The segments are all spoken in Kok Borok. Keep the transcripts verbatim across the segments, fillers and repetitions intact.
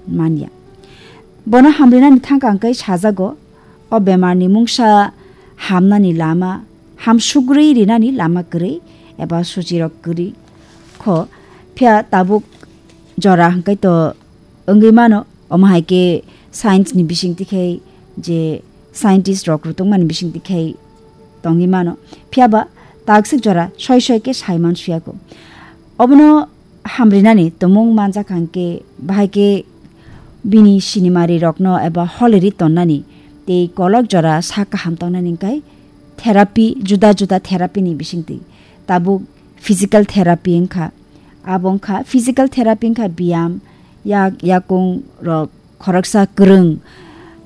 manya. Bono hamrinani thangka hwnkhe sajago, o bemarni mungsa hamnani lama, hamsukrwi rinani lama kwrwi eba suchirok kwrwi kho. Phiya tabuk jora hwnkhe to wngwi mano, omo hai khe science ni bisingtwi khe je scientist rok rwtwngmani bisingtwi khe tongwi mano. Phiya ba taksik jora soi soi khe sai man suya kho. Obono hamrinani tumung manjak hwnkhe bahai khe bini sinimari rokno eba holiri tonnani tei kolok jora sak kaham tongnani hwnkhe therapy, juda juda therapy ni bisingtwi tabuk physical therapy wngkha. Abo wngkha physical therapy wngkha biyam, yak, yakung rok khoroksa kwrwng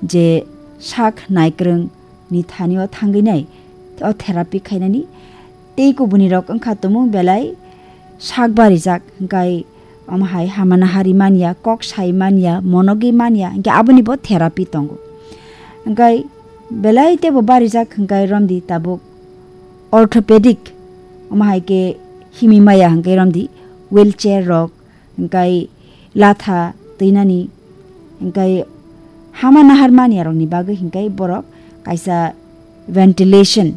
je sak naikwrwng ni thani o thangwi nai o therapy khainani. Tei kubuni rok wngkha tumung belai sak barijak, hwnkhe omo hai hamana hari manya, kok sai manya, monogwi manya, hwnkhe aboni bo therapy tongo. Hwnkhe belai teibo barijak hwnkhe romdi tabuk orthopedic, omo hai khe himi maya hwnkhe romdi wheelchair rok, hwnkhe latha twinani, hwnkhe hama nahar manyarokni bagwi hwnkhe borok kaisa ventilation,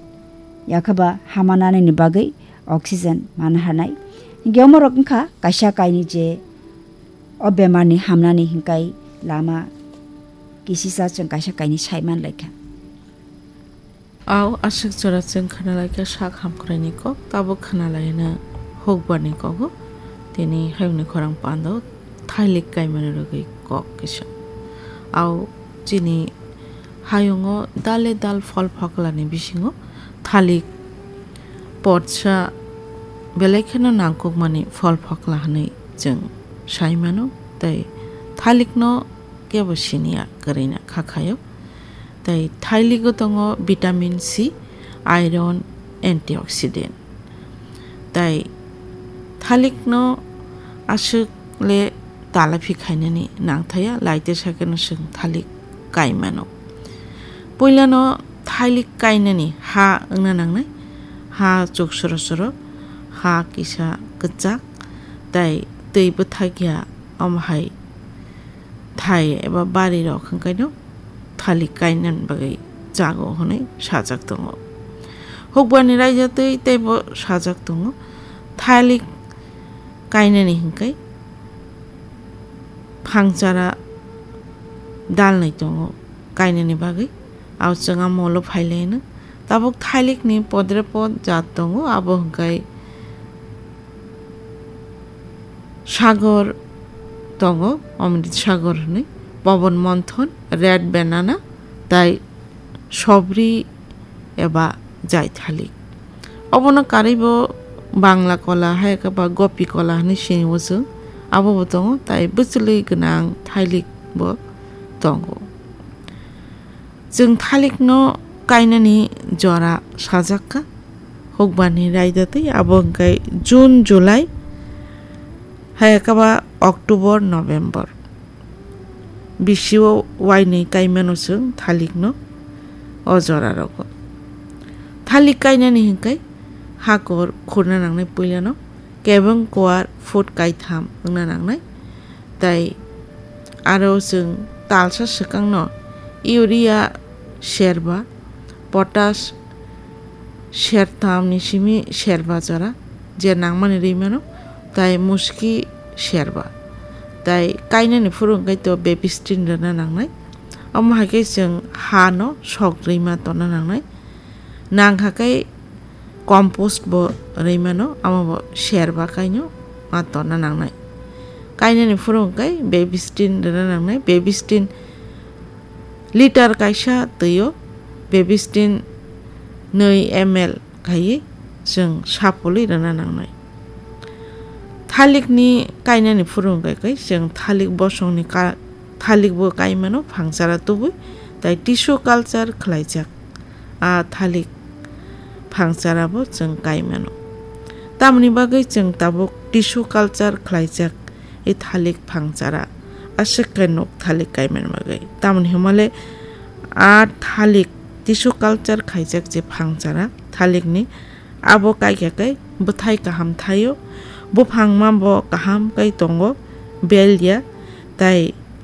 yakhaba hama nanani bagwi oxygen mana harnai. Hwnkhe omorok wngkha kaisa kainwi je o bemarni hamnani hwnkhe lama kisisa chwng kaisa kainwi sai manlaikha. Au aswk jora chwng khwnalaikha sak hamkraini kok, tabuk khwnalaina hukbarni kogo. Tini hayungni khorang pando thailik kaimani rwgwi kok kisa. Au chini hayungo dale dal phol phoklani bisingo thalik potsa belai kheno nangkukmani phol phokla hwnwi chwng sai mano, tei thalikno kebo siniya kwrwina khakhaio. Tei thailigo tongo vitamin C, iron, antioxidant. Tei thalikno aswk le talaphi khainani nangthaya, laite sakeno chwng thalik kaimano. Puilano thailik kainani ha wngna nangnai, ha chuk soro soro, ha kisa kwchak, tei twi bwthakya, omo hai thai eba bari rok hwnkhe no thalik kainani bagwi chago hwnwi sajak tongo. Hukbarni raida twi teibo sajak tongo. Thalik kainani hwnkhe phangchara dalnai tongo kainani bagwi. Ao chwng a molo phailaino. Tabuk thailikni podre pod jat tongo, abo hwnkhe sagor tongo, Amrit sagor hwnwi, Pawan Manthon, Red Banana, tai Sobri eba Jaithalik. Obono karwibo Bangla kola hai khe ba Gopi kola hwnwi sini o chwng, abo bo tongo, tai bwchwlwi gwnang thailik bo tongo. Chwng thalikno kainani jora sajak kha, hukbarni raida twi abo hwnkhe June, July, hai khe ba October, November. Bisio wainwi kaimano chwng thalikno o jora rogo. Thalik kainani hwnkhe hakor khurna nangnai puilano kebeng kuar foot kaitham wngna nangnai. Tai aro chwng talsa swkangno urea serba, potash sertham ni simi serba jora je nangmani rwi mano, tai muski serba. Tai kainani phuru hwnkhe to bebistin rwna nangnai. Omo hai khe chwng ha no sok rwi ma tonna nangnai. Nang kha khe compost bo rwi mano, amo bo serba kaino ma tonna nangnai. Kainani phuru hwnkhe bebistin rwna nangnai. Bebistin liter kaisa twi o bebistin nwi M L khaiwi chwng sapulwi rwna nangnai. Thalikni kainani phuru hwnkhe khe chwng thalik bosongni ka-, thalik bo kaimano phangchara tubui, tai tissue culture khlaijak. A thalik phangchara bo chwng kaimano. Tamoni bagwi chwng tabuk tissue culture khlaijak i thalik phangchara aswk khe nuk thalik kaimani bagwi. Tamoni hwnmale a thalik tissue culture khaijak je phangchara thalikni, abo kaikha khe bwthai kaham thaio, buphangma bo kaham kai tongo, bel ya, tai